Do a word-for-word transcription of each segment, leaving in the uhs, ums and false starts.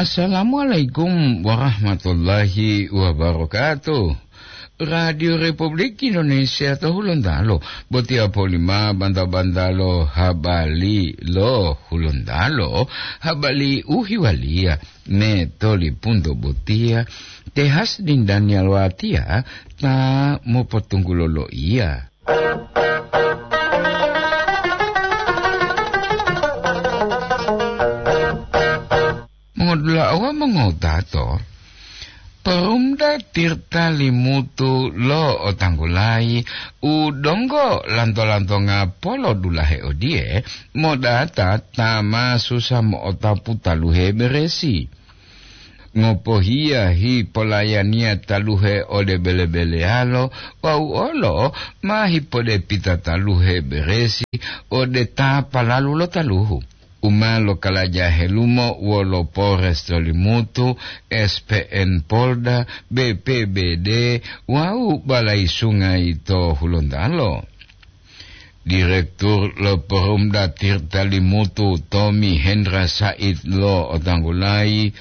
Assalamualaikum warahmatullahi wabarakatuh. Radio Republik Indonesia to Hulontalo, botiya polima banta-bantalo habali lo Hulontalo, habali uhiwaliya ne toli punto botiya, tehas dindaniya lo atiya ta mopotunggulo lo iya. Mongodula'a wawu mongotato, Perumda Tirta Limutu lo otanggulayi u donggo lanto-lantonga polodulahe odiye, modata ta ma susa mo'otapu taluhe beresi. Ngopohiya hipolayaniya taluhe ode bele-beleyalo wawu olo ma hipodepita taluhe beresi ode ta palalu lo taluhu. U ma lokalaja helumo wolo Polres to Limutu, S P N Polda, B P B D, wawu Balai Sungai to Hulontalo. Direktur lo Perumda Tirta Limutu, Tommy Hendra Said, lo otanggulayi,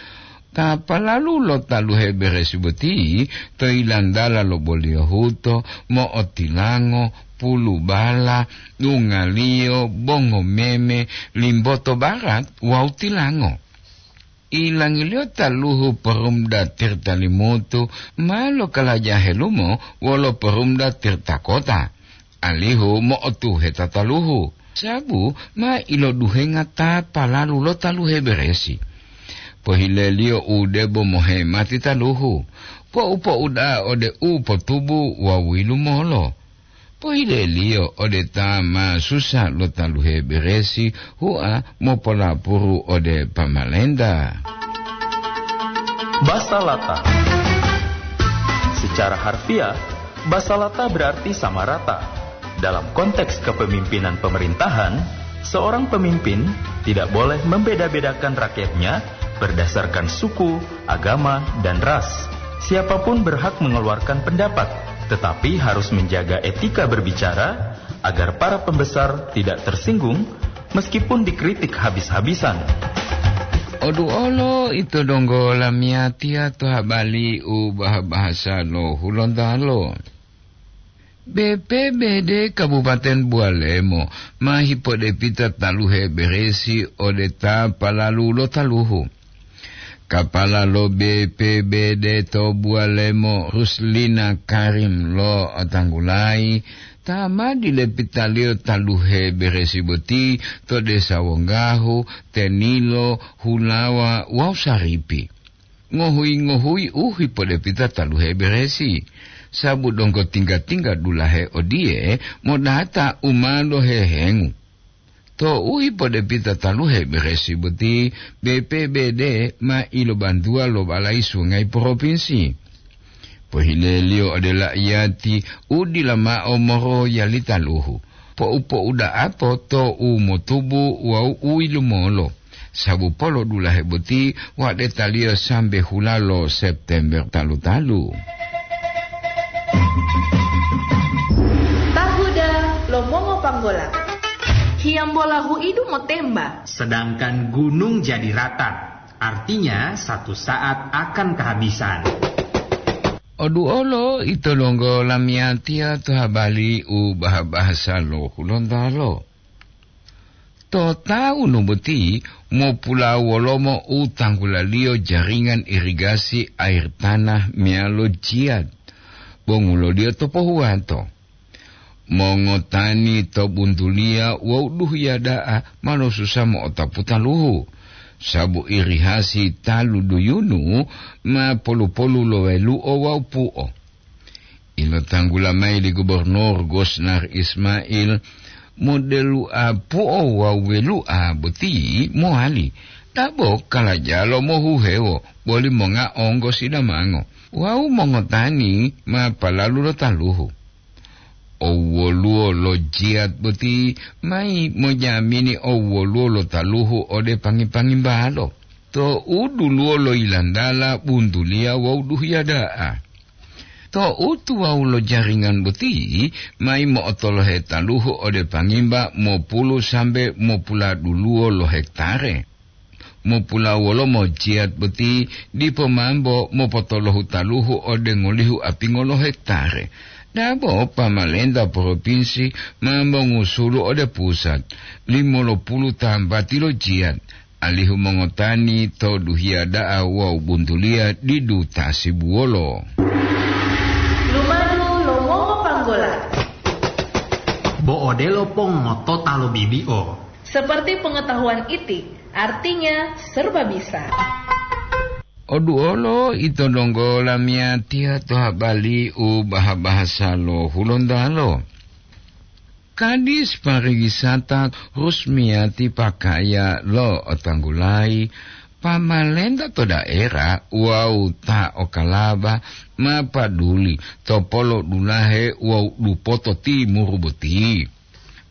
ta palalu lo taluhe beresi boti to ilantala lo Boliyohuto, mo'otilango, Pulubala, Dungaliyo, Bongomeme, Limboto Barat wawu Tilango. Ilangiliyo taluhu Perumda Tirta Limutu ma lokalaja helumo wolo Perumda Tirta Kota, alihu mo'otuheta taluhu, sabu ma iloduhenga ta palalu lo taluhe beresi. Pohileliyo u debo mohemati taluhu, po'u-po'u da'a ode u potubu wawu yilumolo. Pohileliyo ode ta ma susa lo taluhe beresi, hua mopolapuru ode pamalenta. Basalata. Secara harfiah, basalata berarti sama rata. Dalam konteks kepemimpinan pemerintahan, seorang pemimpin tidak boleh membeda-bedakan rakyatnya berdasarkan suku, agama, dan ras. Siapapun berhak mengeluarkan pendapat, tetapi harus menjaga etika berbicara agar para pembesar tidak tersinggung meskipun dikritik habis-habisan. Oduolo ito donggo lamiyatiya to habali u baha-bahasa lo Hulontalo. B P B D Kabupaten Bualemo ma hipodepita taluhe beresi ode ta palalu lo taluhu. Kapala lo B P B D to Bualemo, Ruslina Karim, lo otanggulayi, ta ma dilepitaliyo taluhe beresi boti to desa Wonggahu, Tenilo, Hulawa wawu Saripi. Ngohuyi-ngohuyi u hipodepita taluhe beresi, sabu donggo tingga-tingga dulahe odiye modata u ma lohehengu. Tou hipodepita taluhe beresi boti, B P B D ma ilobantuwa lo Balai Sungai Propinsi. Pohileliyo ode laiyati u dila mao moroyali taluhu, po'u-po'u da'ato to u motubu wawu u yilumolo, sabu polodulahe boti wa'detaliyo sambe hula lo September talu-talu. Tahuda lo mongopanggola. Hiyambola huidu motemba. Sedangkan gunung jadi rata, artinya satu saat akan kehabisan. Oduolo ito donggo lamiyatiya to habali u baha-bahasa lo Hulontalo. To tawunu boti mopulawolomo u tanggulaliyo jaringan irigasi air tanah meyalo jiyat, bonguloliyo to pohuwato. Mongotani to buntuliya wawu duhiya da'a ma losusa mo'otapu taluhu, sabu irihasi talu duyunu ma polu-polu lo welu'o wawu pu'o. Ilotanggula mayi li Gubernur Gosnar Ismail, modelu'a pu'o wawu welu'a boti mowali, dabo kalajalo mohuhewo boli monga onggo sidamango wawu mongotani ma palalu lo taluhu. Owwoluwo lo jiyat boti mayi mojamini owwoluwo lo taluhu ode pangi-pangimbalo. To u duluwo lo yilantala buntuliya wawu duhiya da'a. To u tuwawu lo jaringan boti mayi mo'otolohe taluhu ode pangimba mopulu sambe mopuladuluwo lo hektare. Mopulawolomo jiyat boti dipo mambo mopotolohu taluhu ode ngolihu apingo lo hektare. Dabo pamalenta propinsi mambo ngusulu ode pusat, limolopulu tambati lo jiyat, alihu mongotani to duhiya da'a wawu buntuliya didu tasibuwolo. Lumadu lo mongopanggola. Bo odelo pongotota lo bibi'o. Seperti pengetahuan iti, artinya serba bisa. Oduolo ito donggo lamiyatiya to habali u baha-bahasa lo Hulontalo. Kadis pariwisata Rusmiyati Pakaya lo otanggulayi, pamalenta to daerah wawu ta okalaba ma paduli to polo dulahe wawu dupoto timuru boti.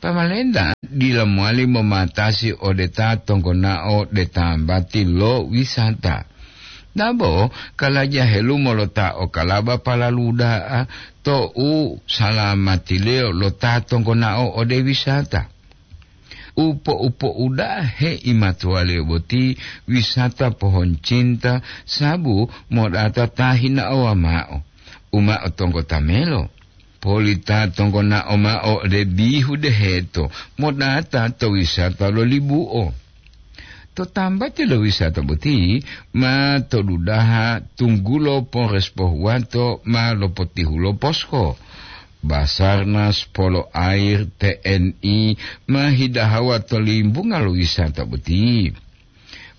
Pamalenta dila mowali momatasi ode ta tonggonao de tambati lo wisata. Dabo kalaja helumo lo ta okalaba palalu da'a to u salamatiliyo lo ta tonggonao ode wisata. Upo-upo uda'a heimatuwaliyo boti wisata pohon cinta sabu modata ta hinaowa ma'o, u ma'o tonggo tamelo. Polita tonggonao ma'o ode bihu deheto modata to wisata lo libu'o. To tambati lo wisata boti ma to dudaha tunggulo Polres Pohuwato ma lopotihulo posko. Basarnas, Polo Air, T N I ma hidahawa to limbunga lo wisata boti.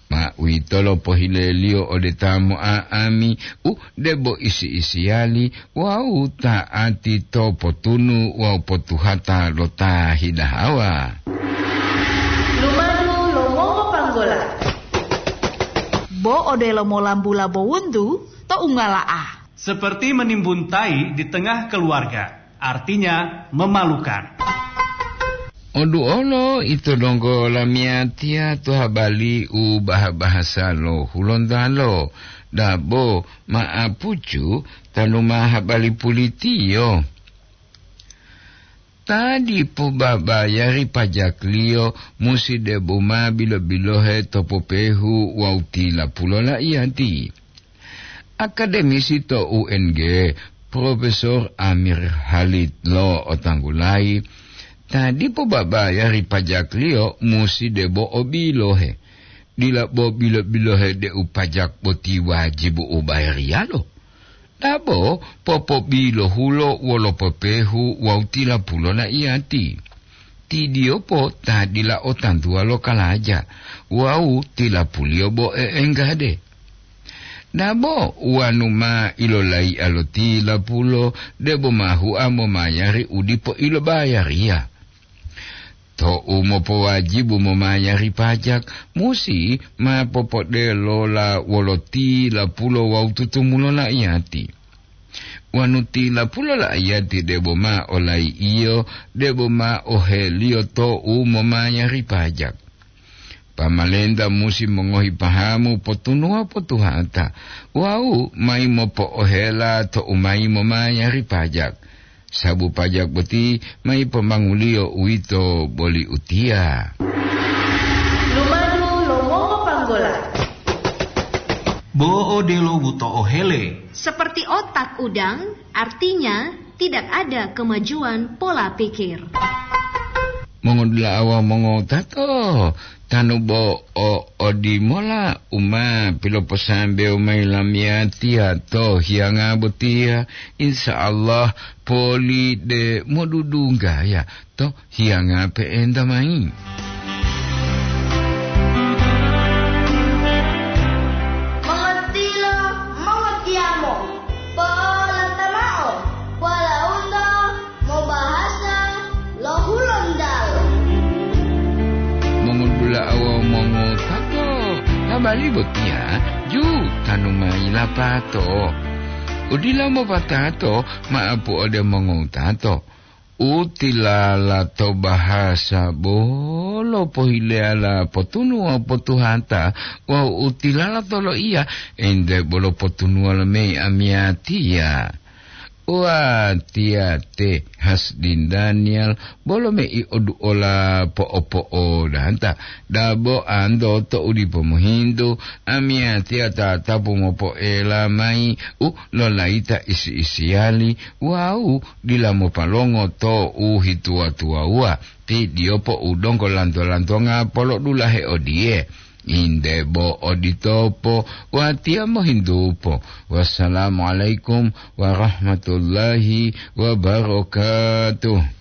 Ma uwitolo pohileliyo ode ta mo'a'ami u debo isi-isiyali wawu ta'ati to potunu wawu potuhata lo ta hidahawa. Lumadu lo mongopanggola. Bo odelo molambula bo wuntu to ungala'a. Seperti menimbun tai di tengah keluarga, artinya memalukan. Oduolo ito donggo lamiyatiya to habali u baha-bahasa lo Hulontalo, dabo ma'apucu tanu ma habali pulitiyo. Ta dipo babayari pajakliyo musi debo ma bilo-bilohe to popehu wawu tilapulo la'iyati. Akademisi to U N G, Profesor Amir Halid lo otanggulayi, ta dipo babayari pajakliyo musi debo o bilohe. Dila bo bilo-bilohe deu pajak boti wajibu u bayariyalo. Dabo popobilohulo wolo popehu wawu tilapulo la'iyati. Tidiyopo ta dila o tantuwa lo kalaja wawu tilapuliyo bo e'enggade. Dabo wanu ma ilolaiya lo tilapulo debo ma hua momayari u dipo ilobayariya. Tou mopowajibu momayari pajak, musi ma popodelola wolo tilapulo wawu tutumulo la'iyati. Wanu tilapulo la'iyati debo ma olai'iyo, debo ma oheliyo tou momayari pajak. Pamalenta musi mongohi pahamu potunuwa potuhata wawu mayi mopo'ohela tou mayi momayari pajak. Sabu pajak boti mayi pomanguliyo uwito boli utiya. Lumadu lo mongopanggola. Bo odelo buto'o hele. Seperti otak udang, artinya tidak ada kemajuan pola pikir. Mongodula'a wawu mongotato, tanu bo o odimola u ma piloposambewo mayi lamiyatiya to hiyanga botiya, insya Allah poli de modudunggaya to hiyanga pe'enta mayi. Mongotilo, mongotiyamo, po'olata mao, walaundo mobahasa lo Hulontalo. Mongodula'a wawu mongotato, habari botiya ju tanu mayi lapato. Udila mopatato ma'apu ode mongotato. U tilala to bahasa bolo pohileyala potunuwa potuhata wawu u tilala to loiya ente bolo potunuwa lo mei amiyatiya. Watiya te Hasdin Daniel, bolo mei oduola po'o-po'o danta, dabo anto to u dipo mohintu, amiyatiya tatapu mopoela mayi u lolayita isi-isiyali wawu dila mopalongo to u hituwa-tuwawuwa, ti diyopo u donggo lanto-lantonga polodulahe odiye. Inde bo oditopo, watiya mohintupo. Wassalamualaikum warahmatullahi wabarakatuh.